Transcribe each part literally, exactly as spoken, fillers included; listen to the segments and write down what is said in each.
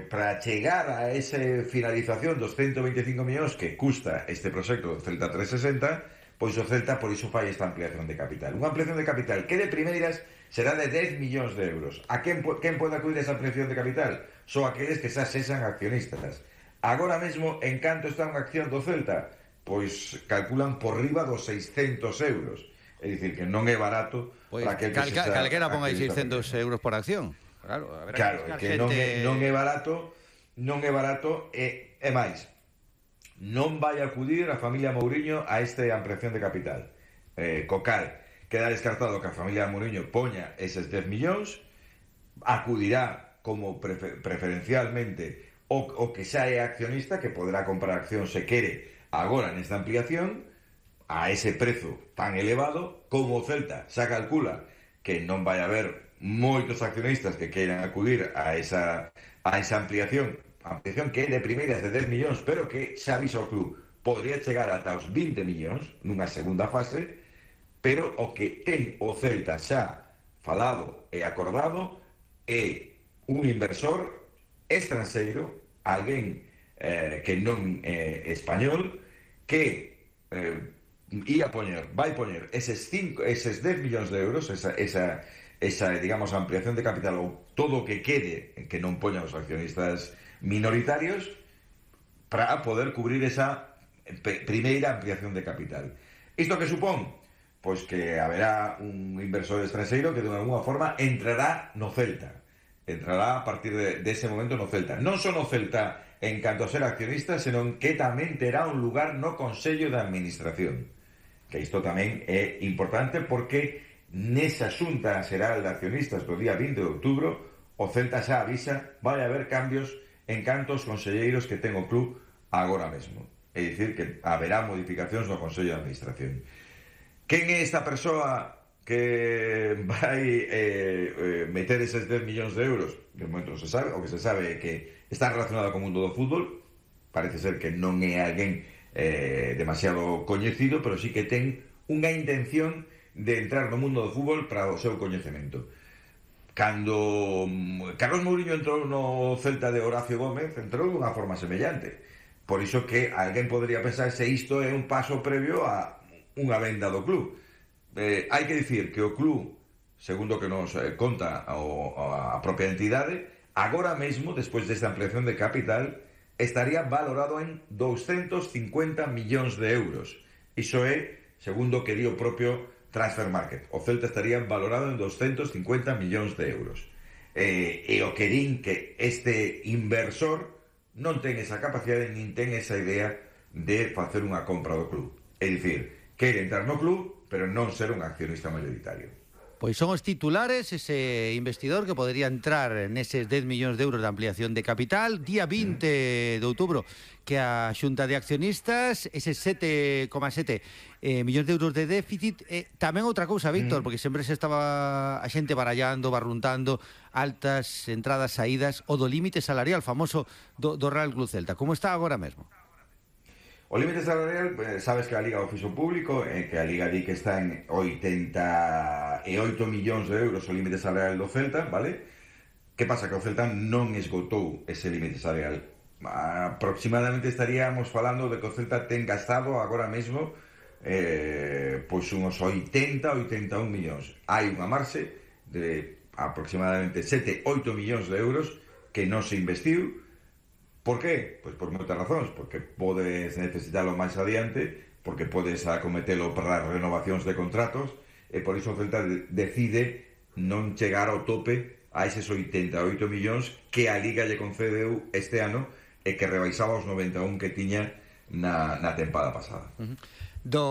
para chegar a esa finalización dos ciento veinticinco millóns que custa este proxecto do Celta trescentos sesenta, pois o Celta por iso fai esta ampliación de capital. Unha ampliación de capital que de primeiras será de dez millóns de euros. A quen, quen pode acudir a esa ampliación de capital? Só aqueles que xa sexan accionistas. Agora mesmo, en canto está unha acción do Celta? Pois calculan por riba dos seiscentos euros. É dicir, que non é barato pois para aquel cal, que cal, sexa calquera ponga aí accionista seiscentos euros por acción. Claro, a ver, claro, que gente... non é, non é barato, non é barato e, e máis. Non vai acudir a familia Mouriño a esta ampliación de capital. Eh, co cal, queda descartado que a familia Mouriño poña eses dez millóns, acudirá como prefer preferencialmente o, o que xa é accionista, que poderá comprar acción se quere agora nesta ampliación, a ese prezo tan elevado, como o Celta xa calcula que non vai haber moitos accionistas que queiran acudir a esa, a esa ampliación, ampliación que é de primeiras de dez millóns, pero que xa avisa o club podría chegar ata os vinte millóns nunha segunda fase, pero o que ten o Celta xa falado e acordado é un inversor estranxeiro, alguén eh, que non é eh, español, que eh, ia poñer, vai poñer eses, cinco, eses dez millóns de euros, esa, esa, esa, digamos, ampliación de capital ou todo o que quede que non poñan os accionistas minoritarios para poder cubrir esa primeira ampliación de capital. Isto que supón? Pois que haberá un inversor estranxeiro que de alguna forma entrará no Celta. Entrará a partir de, de ese momento no Celta. Non só no Celta en canto a ser accionista, senón que tamén terá un lugar no Consello de Administración. Que isto tamén é importante porque nesa xunta xeral de accionistas do día vinte de outubro o Celta xa avisa vai haber cambios en canto aos conselleiros que ten o club agora mesmo. É dicir, que haberá modificacións no Consello de Administración. Quen é esta persoa que vai eh, eh, meter eses dez millóns de euros? De momento non se sabe, o que se sabe é que está relacionado co mundo do fútbol, parece ser que non é alguén eh, demasiado coñecido, pero sí que ten unha intención de entrar no mundo do fútbol para o seu coñecemento. Cando Carlos Mouriño entrou no Celta de Horacio Gómez, entrou dunha forma semellante. Por iso que alguén podría pensar se isto é un paso previo a unha venda do club. Eh, hai que dicir que o club, segundo que nos eh, conta o, a propia entidade, agora mesmo, despois desta ampliación de capital, estaría valorado en doscientos cincuenta millóns de euros. Iso é, segundo que di o propio Transfermarkt. O Celta estaría valorado en doscientos cincuenta millóns de euros. Eh, e o que din que este inversor non ten esa capacidade nin ten esa idea de facer unha compra do club. É dicir, quere entrar no club, pero non ser un accionista mayoritario. Pois son os titulares, ese investidor que podría entrar neses dez millóns de euros de ampliación de capital, día vinte de outubro, que a xunta de accionistas, eses sete coma sete eh, millóns de euros de déficit. Eh, tamén outra cousa, Víctor, porque sempre se estaba a xente barallando, barruntando, altas entradas, saídas, o do límite salarial famoso do, do Real Club Celta. Como está agora mesmo? O límite salarial, eh, sabes que a Liga o fixo público, eh, que a Liga di que está en oitenta e oito millóns de euros o límite salarial do Celta, vale? Que pasa? Que o Celta non esgotou ese límite salarial. Aproximadamente estaríamos falando de que o Celta ten gastado agora mesmo eh, pois unhos oitenta, oitenta e un millóns. Hai unha marxe de aproximadamente sete, oito millóns de euros que non se investiu. Por qué? Pois por moitas razóns, porque podes necesitalo máis adiante, porque podes acometelo para as renovacións de contratos, e por iso o Celta decide non chegar ao tope a eses oitenta e oito millóns que a Liga lle concedeu este ano e que rebaixaba os noventa e un que tiña na, na tempada pasada. Uh-huh. Do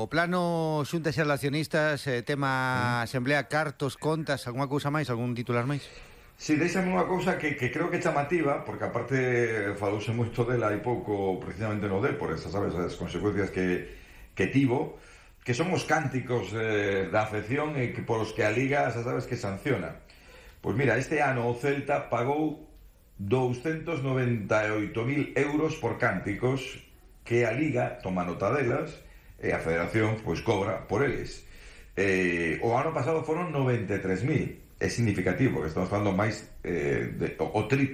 plano xunta xeral de accionistas, eh, tema uh-huh. asamblea, cartos, contas, algunha cousa máis, algún titular máis? Si, deixame unha cousa que, que creo que é chamativa, porque aparte falouse moito dela hai pouco precisamente no Depor, esas, sabes, as consecuencias que, que tivo, que son os cánticos eh, da afección e que polos que a Liga, xa sabes, que sanciona. Pois mira, este ano o Celta pagou doscientos noventa e oito mil euros por cánticos que a Liga toma nota delas e a Federación pois cobra por eles. Eh, o ano pasado foron noventa e tres mil. É significativo, estamos falando máis eh, de, o, o triple